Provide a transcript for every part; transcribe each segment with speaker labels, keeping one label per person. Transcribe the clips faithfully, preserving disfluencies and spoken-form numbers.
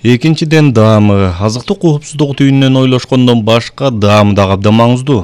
Speaker 1: Экинчиден, даамы азыктык коопсуздугу түйүнүнөн ойлошкондон башка даамы дагы абдан маңыздуу.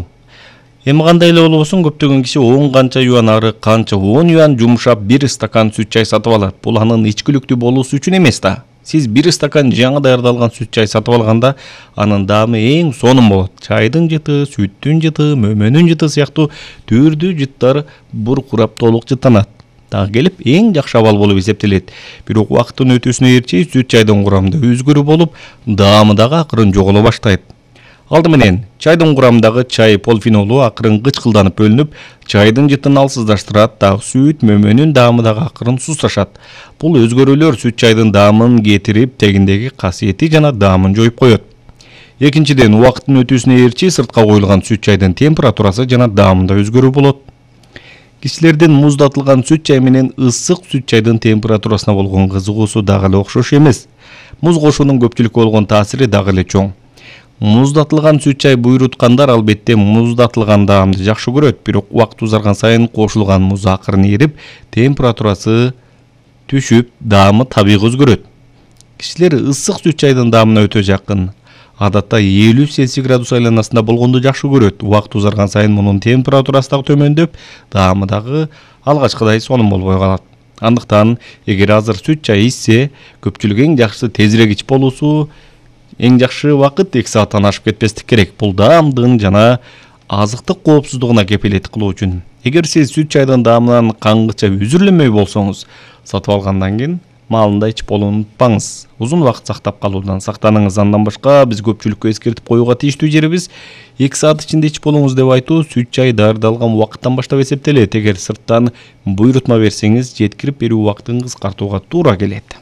Speaker 1: Эми кандай эле болбосун, көптөгөн киши он канча юан ары, канча он юан жумшап бир стакан сүт чай сатып алат. Бул анын ичкиликтүү болуусу үчүн эмес да. Сиз бир стакан жаңы даярдалган сүт чай сатып алганда, анын даамы эң сонун болот. Чайдын жыты, сүттүн жыты, мөмөнүн жыты сыяктуу түрдүү жыттар буркурап толук жыттанат. Дагы келип эң жакшы абал болуп эсептелет. Бирок убакыттын өтүүсүнө ээрчи сүт чайдын курамында өзгөрүү болуп, даамы дагы акырын жоголо баштайт. Алды менен чайдын курамындагы чай полфенолу акырын кычкылданып бөлүнүп, чайдын жытын алсыздаштырат, дагы сүт, мөмөнүн даамы дагы акырын сусташат. Бул өзгөрүүлөр сүт чайдын даамын кетирип, тегиндеги касиети жана даамын жоюп коет. Экинчиден, убакыттын өтүүсүнө ээрчи сыртка коюлган сүт чайдын температурасы жана даамында өзгөрүү болот. Кишилердин муздатылган сүт чай менен ысык сүт чайдын температурасына болгон кызыгуусу дагы эле окшош эмес. Муз кошуунун көпчүлүккө болгон таасири дагы эле чоң. Муздатылган сүт чай буйруткандар албетте муздатылган даамды жакшы көрөт, бирок убакыт узарган сайын кошулган муз акырын эрип, температурасы түшүп, даамы табигый өзгөрөт. Кишилер ысык сүт чайдын даамына өтө жакын, адатта элүү Цельсий градус айланасында болгонду жакшы көрөт. Убакыт узарган сайын мунун температурасы дагы төмөндөп, даамы дагы алгачкыдай сонун болбой калат. Андыктан, эгер азыр сүт чай ичсе, көпчүлүк эң жакшысы тезирээк ичип болуусу, эң жакшы убакыт эки сааттан ашып кетпестик керек. Бул даамдын жана азыктык коопсуздугуна кепилет кылуу үчүн. Эгер сиз сүт чайдын даамынан каңгыча үзүрлөнмөй болсоңуз, сатып алгандан кийин маалында ичип болууну унутпаңыз. Узун убакыт сактап калуудан сактаныңыз. Андан башка биз көпчүлүккө эскертип коюуга тийиштүү жерибиз эки саат ичинде ичип болуңуз деп айтуу сүт чай даярдалган убакыттан баштап эсептелет. Эгер сырттан буйрутма берсеңиз, жеткирип берүү убактын кыскартууга туура келет.